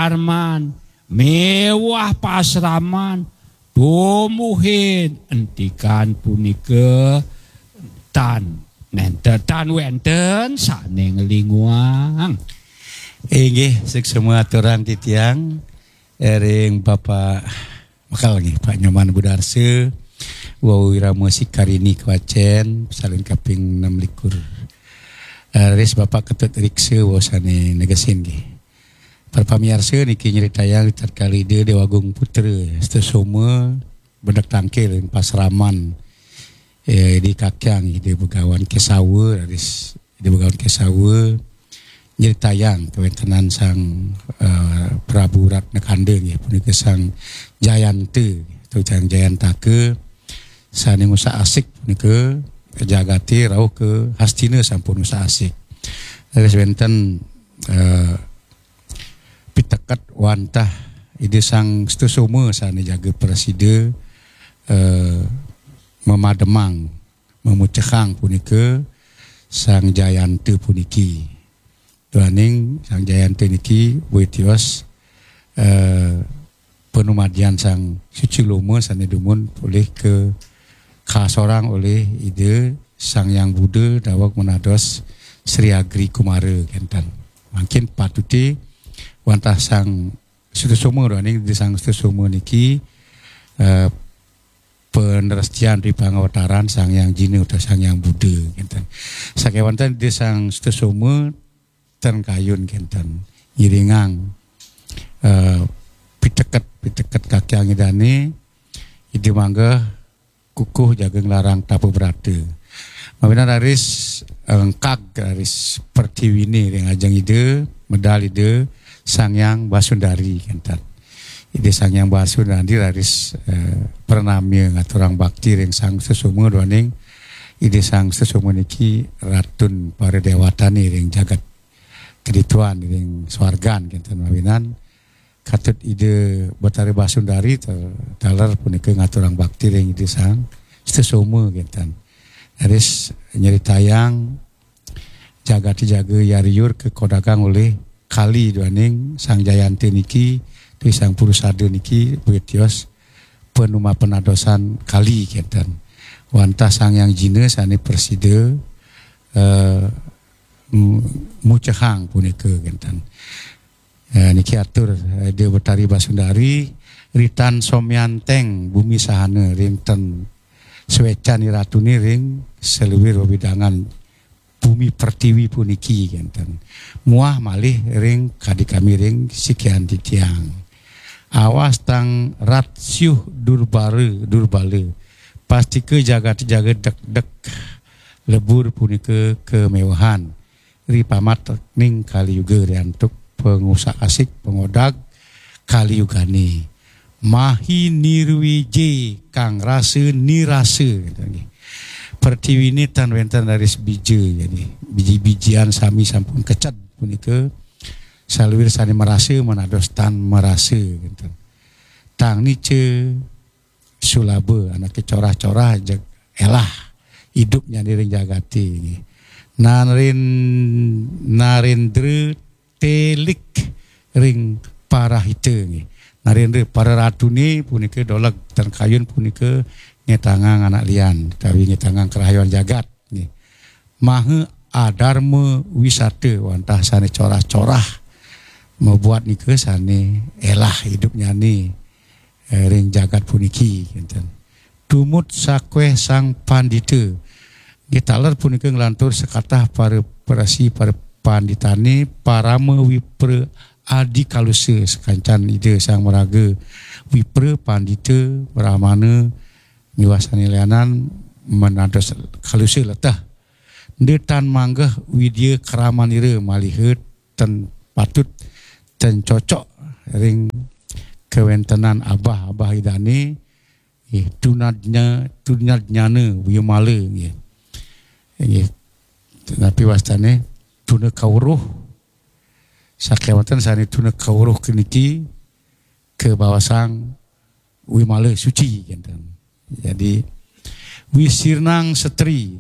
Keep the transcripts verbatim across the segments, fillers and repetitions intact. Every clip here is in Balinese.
Arman, miwah pasraman, tumuhin entikan punika tan nenten, tan wenten sane nglinguang. Inggih, suksma aturang titiang ring Bapak Mekel nggih, Pak Nyoman Budarsa, wau Wirama Sikarini Kewacen, salin kaping enam likur. Eh, ris Bapak Ketut Riksa, wau sane negesin nggih. Para pamiarsa, niki nyritayang tatkala Ida Dewa Agung Putra Sesoma bedek tangkil ring pasraman, eh, di kakyang Ida Begawan Kesawa, raris Ida Begawan Kesawa nyritayang kawentenan Sang, eh, Prabu Ratna Kanda nggih, punika Sang Jayanta atau Sang Jayantaka sane ngusak-asik punika jagate rauh ka Hastina sampun ngusak-asik. Raris wenten, eh, piteket wantah Ida Sang Sutasoma sane jaga prasida, eh, memademang, memucehang punika Sang Jayanta puniki. Duaning Sang Jayanta niki witios, eh, panumadian Sang Suciloma sane dumun polih ka kasorang olih Ida Sang Hyang Buddha daweg menados Sri Agri Kumara kenten. Mangkin patute wantah Sang Sutasoma duaning Ida Sang Sutasoma niki, eh, panrestian ri pangawataran Sang Hyang Jina utawi Sang Hyang Buddha kenten. Sakewanten Ida Sang Sutasoma ten kayun kenten. Ngiringang, eh, piteket, piteket kakyang Idane, Ida manggeh kukuh jaga nglarang tapa brata. Mawinan raris engkag raris pertiwine ring ajeng Ida, medal Ida Sang Hyang Basundari kenten. Ida Sang Hyang Basundari raris, eh, pranamya ngaturang bakti ring Sang Sutasoma duaning Ida Sang Sutasoma niki ratun para dewatane ring jagat kedituan ring swargan kenten mawinan. Katut Ida Betari Basundari ter-, taler punika ngaturang bakti ring Ida Sang Sutasoma kenten. Raris nyritayang jagate jaga yariur kakodagang olih kali duaning Sang Jayanta niki, utawi Sang Purusada niki, witios panuma penadosan kali kenten. Wantah Sang Hyang Jina sane prasida, eh, mu-, mucehang punika kenten. Eh, niki atur, eh, Ida Betari Basundari, ritan somyanteng bumi sahana ring ten swecan iratune ring saluir wewidangan bumi pertiwi puniki kenten. Muah malih ring kadi kami ring sikian titiang. Awas tang rat syuh durbara, durbala. Pastika jagat jaga dekdek lebur punika kamewehan ri pamatning Kali Yuga ri antuk pangusak-asik pangodag Kali Yugane. Mahi nirwije kang rasa nirasa, gitu nggih. Pertiwine tan wenten raris bija, jadi biji-bijian sami sampun keced punika saluir sane marasa manados tan marasa, gitu. Tang nica sulaba, anake corah-corah jeg elah idupnyane ring jagate nggih. Narin-, narendra telik ring parahita nggih. Narendra para ratune punika doleg tan kayun punika ngetangang anak lian, utawi ngetangang kerahayon jagat nggih. Maha adarma wisata wantah sane corah-corah mabuat nika sane elah idupnyane, eh, ring jagat puniki kenten. Tumut sakweh Sang Pandita. Nggih, taler punika nglantur sakatah para prasi para panditane, parama wipra adi kalusa sakancan Ida Sang Maraga, wipra pandita, brahmana miwah sane lianan menados kalusa leteh. Enda tan manggeh widya kramanira maliha ten patut ten cocok ring kawentenan abah-abah Idane, nggih, tunadnya, tunadnyana wimala, nggih. Nggih. Napi wastane tuna kaweruh, sakewanten sane tuna kaweruh keniki kabawasang wimala suci kenten. Jadi wisirnang setri,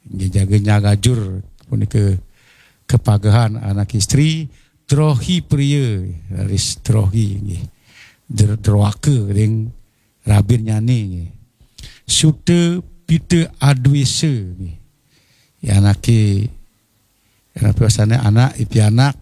nggih, jaga nyagajur punika kapagehan anak istri, Drohi Priya, raris Drohi nggih. Dr- Droaka ring rabinnyane nggih. Suta Pita Adwesa nggih. Ya anake, ya anake wasane anak, ipianak,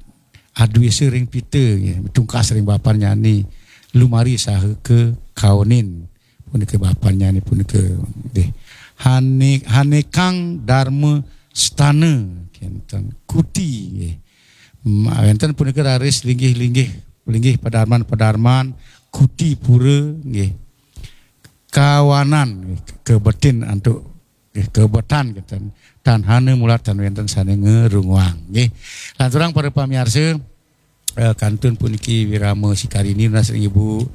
adwesa ring Pita nggih, tungkas ring bapannyane, lumari saha kakaonin. Punika bapannyane punika nggih. Hane-, Hanekang Dharma Stana kenten. Kuti nggih. Ma-, wenten punika raris linggih-linggih, linggih padarman-padarman, kuti pura nggih. Kawanan nggih, kabetin antuk nggih, kabetan kenten. Tan hana mulat tan wenten sane ngrunguang nggih. Lanturang para pamiarsa, eh, kantun puniki wirama sikarini nunas ring Ibu,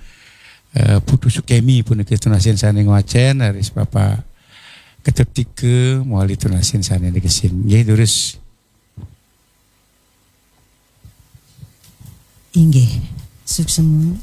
eh, Putu Sukemi punika tunasin sane ngwacen, raris Bapak Ketut Tika mawali tunasin sane negesin. Nggih, durus. Inggih, suksema.